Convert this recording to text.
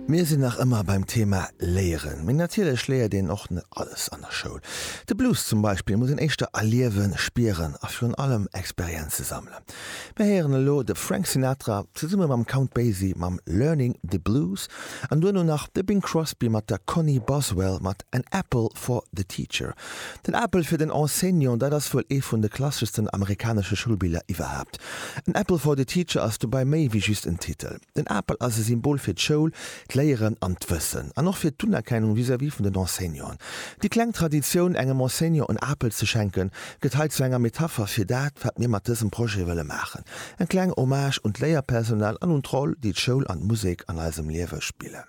Mir sinn nach ëmmer beim Thema Léieren. Mee natierlech léiert een och net alles an der Schoul. De Blues zum Beispill muss een éischter erliewen, spieren a virun allem Experienze sammelen. Mir héieren elo de Frank Sinatra zesumme mam Count Basie mam Learning the Blues an duerno nach de Bing Crosby mat der Connie Boswell mat An Apple for the Teacher. Den Apel fir den Enseignant, dat ass wuel ee vun de klasseschsten amerikanesche Schoulbiller iwwerhaapt. An Apple for the Teacher ass dobäi méi wéi just en Titel. Den Apel ass e Symbol fir d'Schoul, d'Léieren an d'Wëssen. An och fir d'Unerkennung vis-à-vis vun den Enseignanten. Déi kleng Traditioun, engem Enseignant en Apel ze schenken, gëtt hei zu enger Metapher fir dat, wat mir mat dësem Projet wëlle maachen, eng kleng Hommage un d'Léierpersonal an un d'Roll, déi d'Schoul an d'Musek an eisem Liewe spillen.